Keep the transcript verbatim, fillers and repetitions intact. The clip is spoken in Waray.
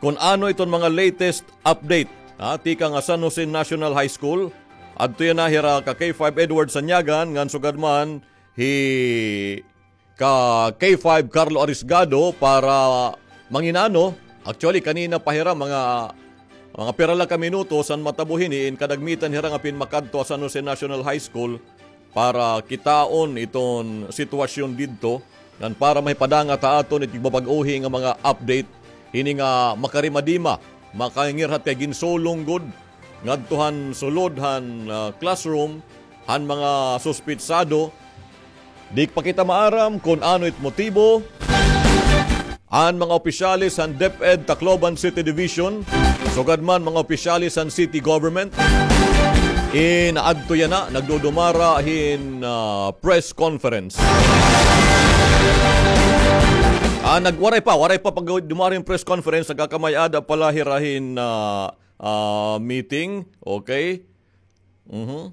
kun ano iton mga latest update, ha, tikang ha San Jose National High School. Adto yana hira ka K five Edward Sanyagan, ngan sugad man hi ka K five Carlo Arisgado para manginano. Actually, kanina pa hira, mga, mga pira la ka minuto san matabo hini, in kadagmitan hira nga pinmakadto ha San Jose National High School para kitaon iton sitwasyon didto, ngan para mahipadangat ha aton it tigbabag-ohi nga mga update hini nga makarimadima, makangirhat kay ginsulong gud ngadto han sulod han, ah, classroom han mga suspitsado. Di pa kita maaram kun ano it motibo. An mga opisyales han DepEd Tacloban City Division, sugad man mga opisyales han city government, in adto yana, nagdudumara hin, ah, press conference. Ah, nag-, waray pa, waray pa pagdumara hin press conference, nagkakamay-ada pa la hira hin, ah, ah, meeting, okay? Mhm.